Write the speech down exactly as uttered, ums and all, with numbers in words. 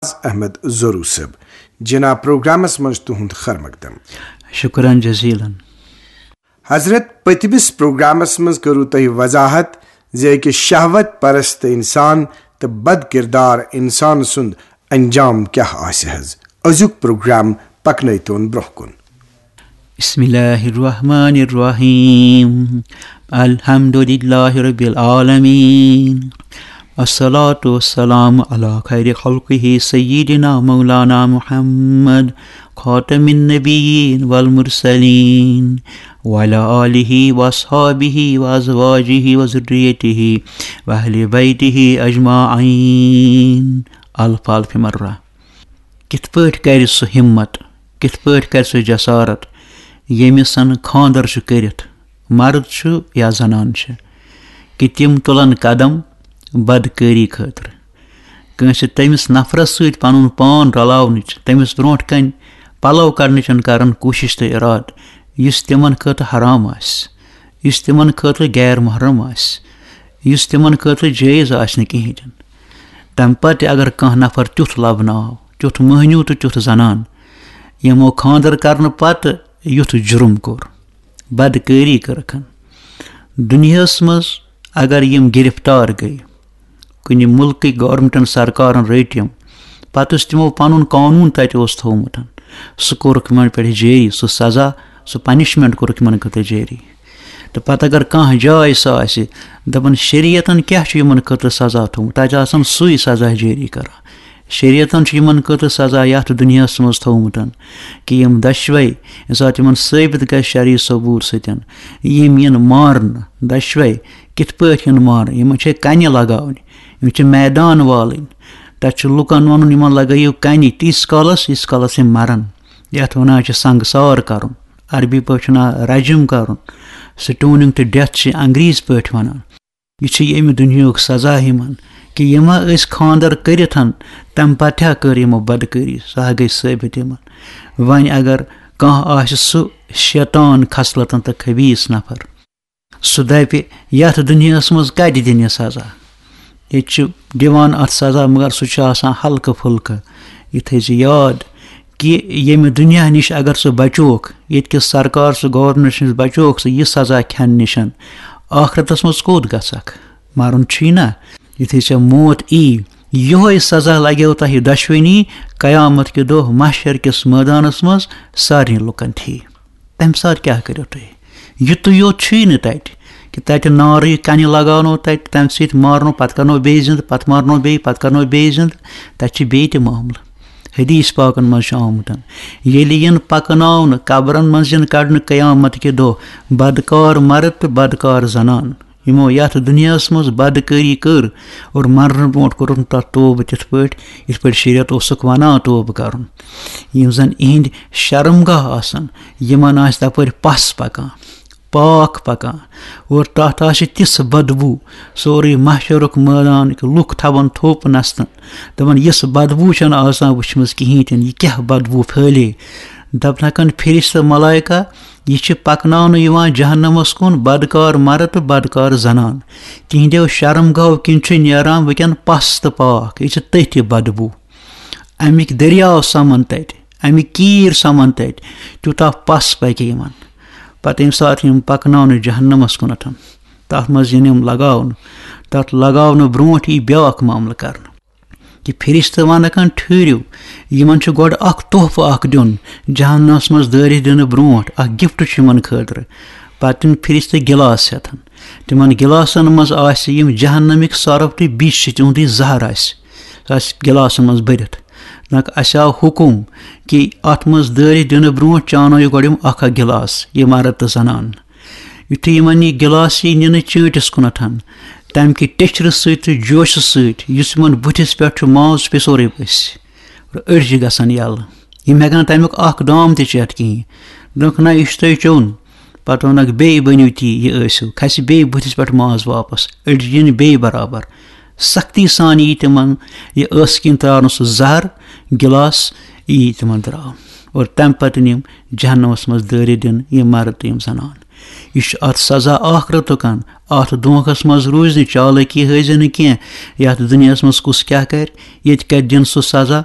احمد زورو صٲب۔ جناب، پروگرامس منٛز تُہُنٛد خیر مقدم۔ شکرن جزیلن۔ حضرت، پٔتمِس پروگرامس منٛز کٔرٕو تۄہہِ وضاحت زِ أکِس شہوت پرست انسان تہٕ بد کردار انسان سُنٛد انجام کیٛاہ آسہِ حظ۔ أزیُک پروگرام پکنٲوتون برٛونٛہہ کُن۔ بسم الله الرحمن الرحيم. الحمد لله رب العالمين. الصلاة والسلام على خير خلقه سيدنا مولانا محمد خاتم النبيين والمرسلين وعلى آله وأصحابه وأزواجه وذريته وأهل بيته أجمعين. الف الف مرة. کِتھ پٲٹھۍ کَرِ سُہ ہِمت، کِتھ پٲٹھۍ کَرِ سُہ جسارت، ییٚمِس زَن خانٛدر چھُ کٔرِتھ، مرد چھُ یا زنان چھِ، کہِ تِم تُلن قدم بدکٲری خٲطرٕ؟ کٲنٛسہِ تٔمِس نفرس سۭتۍ پنُن پان رلاونٕچ، تٔمِس برونٛٹھ کنہِ پلو کڑنٕچ کرن کوٗشش تہٕ ارادٕ، یُس تِمن خٲطرٕ حرام آسہِ، یُس تِمن خٲطرٕ غیر محرم آسہِ، یُس تِمن خٲطرٕ جٲیز آسہِ نہٕ کِہیٖنۍ تہِ نہٕ۔ تمہِ پتہٕ تہِ اگر کانٛہہ نفر تیُتھ لبنہٕ آو، تیُتھ مٔہنیوٗ تہٕ تیُتھ زنان، یِمو خانٛدر کرنہٕ پتہٕ یُتھ جُرم کوٚر، بدکٲری کٔرٕکھن، دُنیاہس منٛز اگر یِم گرفتار گٔے، کُنہِ مُلکٕکۍ گورنمنٹن، سرکارن رٔٹۍ یِم، پتہٕ یُس تِمو پنُن قونوٗن تتہِ اوس تھوٚومُت، سُہ کوٚرُکھ یِمن پٮ۪ٹھ جٲری، سُہ سزا، سُہ پنشمنٹ کوٚرُکھ یِمن خٲطرٕ جٲری۔ تہٕ پتہٕ اگر کانٛہہ جاے سۄ آسہِ، دپان شریعتن کیٛاہ چھُ یِمن خٲطرٕ سزا تھوٚومُت، تتہِ آسان سُے سزا جٲری کران۔ شریعتن چھُ یِمن خٲطرٕ سزا یتھ دُنیاہس منٛز تھوٚومُت، کہِ یِم دۄشوے، ییٚمہِ ساتہٕ یِمن ثٲبت گژھِ شرعی ثبوٗت سۭتۍ، یِم یِن مارنہٕ، دۄشوے کِتھ پٲٹھۍ یِن مارنہٕ؟ یِمن چھِ کنہِ لگاونہِ، یِم چھِ میدان والٕنۍ۔ تتہِ چھُ لُکن ونُن، یِمن لگٲیِو کنہِ تیٖتِس کالس، ییٖتِس کالس یِم مرن۔ یتھ ونان چھِ سنگسار کرُن، عربی پٲٹھۍ چھُ ناو رجم کرُن، stoning to death چھِ انگریزی پٲٹھۍ ونان۔ یہِ چھُ ییٚمہِ دُنیاہُک سزا یِمن، کہِ یِم ہا ٲسۍ خانٛدر کٔرِتھ، تَمہِ پتہٕ ہا کٔر یِمو بدکٲری، سۄ ہا گٔے ثٲبت یِمن۔ وۄنۍ اگر کانٛہہ آسہِ سُہ شیطان خصلتن تہٕ خبیٖث نفر، سُہ دَپہِ، یَتھ دُنیاہَس منٛز کَتہِ دِنہِ سزا؟ ییٚتہِ چھِ دِوان اَتھ سزا، مگر سُہ چھُ آسان ہلکہٕ پھُلکہٕ۔ یہِ تھٲیزِ یاد، کہِ ییٚمہِ دُنیا نِش اگر سُہ بچوکھ، ییٚتہِ کِس سرکار سُہ گورنمنٹ نِش بچوکھ سُہ یہِ سزا کھٮ۪نہٕ نِش، ٲخرتس منٛز کوٚت گژھکھ؟ مرُن چھُے نہ۔ یُتھُے ژےٚ موت یی، یِہوٚے سزا لگیو تۄہہِ دۄشوٕنی قیامت کہِ دۄہ محشر کِس مٲدانس منٛز سارنٕے لُکن ٹھیٖک۔ تمہِ ساتہٕ کیٛاہ کٔرِو تُہۍ؟ یُتُے یوت چھُے نہٕ تَتہِ، کہِ تَتہِ نارٕے کَنہِ لگاونو تَتہِ، تَمہِ سۭتۍ مارنو، پَتہٕ کَرنو بیٚیہِ زِندٕ، پَتہٕ مارنو بیٚیہِ، پَتہٕ کَرنو بیٚیہِ زِندٕ۔ تَتہِ چھِ بیٚیہِ تہِ معاملہٕ۔ حدیث پاکن منٛز چھُ آمُت، ییٚلہِ یِن پَکناونہٕ، قبرن منٛز یِن کَڑنہٕ قیامت کہِ دۄہ بدکار مرد تہٕ بدکار زنان، یِمو یَتھ دُنیاہَس منٛز بدکٲری کٔر اور مرنہٕ برونٛٹھ کوٚرُکھ نہٕ تَتھ توبہٕ تِتھ پٲٹھۍ، یِتھ پٲٹھۍ شریعت اوسُکھ وَنان توبہٕ کَرُن۔ یِم زَن یِہِنٛدۍ شرمگاہ آسَن، یِمَن آسہِ تَپٲرۍ پَس پَکان، پاکھ پَکان، اور تَتھ آسہِ تِژھ بدبوٗ، سورُے محشرُک مٲدان، کہِ لُکھ تھاوَن تھوٚپ نَستَن، دَپَن، یِژھ بدبوٗ چھَنہٕ آز تام وٕچھمٕژ کِہیٖنۍ تہِ نہٕ، یہِ کیٛاہ بدبوٗ پھٲلے؟ دَپنَکَن، فرشتہٕ ملائکہ، یہِ چھِ پَکناونہٕ یِوان جہنمَس کُن بدکار مرد تہٕ بدکار زنان۔ تِہنٛدیو شرمگاہو کِنۍ چھُ نیران وٕنکٮ۪ن پَس تہٕ پاکھ، یہِ چھِ تٔتھۍ بدبوٗ۔ اَمِکۍ دٔریاو سَمَن تَتہِ، اَمِکۍ کیٖرۍ سَمَن تَتہِ، تیوٗتاہ پَس پَکہِ یِمَن۔ پَتہٕ ییٚمہِ ساتہٕ یِم پَکناونہٕ جہنمَس کُنَتھ، تَتھ منٛز یِن یِم لگاونہٕ، تَتھ لگاونہٕ برونٛٹھ یی بیٛاکھ معاملہٕ کَرنہٕ۔ کہِ فرشتہٕ وَنَکھ، ٹھٔہرِو، یِمَن چھُ گۄڈٕ اَکھ تحفہٕ اَکھ دیُن، جہنمَس منٛز دٲرِتھ دِنہٕ برونٛٹھ اَکھ gift چھُ یِمَن خٲطرٕ۔ پَتہٕ دِن فرشتہٕ گِلاس ہٮ۪تھ۔ تِمَن گِلاسَن منٛز آسہِ یِم جہنمٕکۍ سۄرُپھ تہٕ بیٚیہِ چھِ تِہُنٛدُے زَہر آسہِ، سُہ آسہِ گِلاسَن منٛز بٔرِتھ۔ دَپَکھ، اَسہِ آو حُکُم کہِ اَتھ منٛز دٲرِتھ دِنہٕ برونٛٹھ چانٲیِو گۄڈٕ یِم اَکھ اَکھ گِلاس، یہِ مرد تہٕ زنان۔ یُتھُے یِمَن یہِ گِلاس یی نِنہٕ چٲنٛٹِس کُنَتھ، تَمہِ کہِ ٹیٚچھرٕ سۭتۍ تہٕ جوشہٕ سۭتۍ یُس یِمَن بٕتھِس پٮ۪ٹھ چھُ، ماز پیٚژورٕے ؤسۍ، أڈجہِ گژھن یَلہٕ۔ یِم ہٮ۪کَن نہٕ تَمیُک اَکھ دام تہِ چٮ۪تھ کِہیٖنۍ۔ دوٚپُکھ، نہ، یہِ چھُ تۄہہِ چیوٚن۔ پَتہٕ ووٚنُکھ، بیٚیہِ بٔنِو تی، یہِ ٲسِو۔ کھسہِ بیٚیہِ بٕتھِس پٮ۪ٹھ ماز واپَس، أڈجہِ یِن بیٚیہِ برابر۔ سختی سان یی تِمَن یہِ ٲسہٕ کِنۍ ترٛاونہٕ سُہ زَہر، گِلاس یی تِمَن ترٛاونہٕ۔ اور تَمہِ پَتہٕ یِن یِم جہنمَس منٛز دٲرِتھ دِنہٕ یِم مرد تہٕ یِم زنان۔ یہِ چھُ اَتھ سزا ٲخرتُک۔ اَتھ دھوکَس منٛز روٗزِ نہٕ، چالٲکی ہٲوزِ نہٕ کینٛہہ۔ یَتھ دُنیاہَس منٛز کُس کیٛاہ کَرِ، ییٚتہِ کَتہِ دِن سُہ سزا،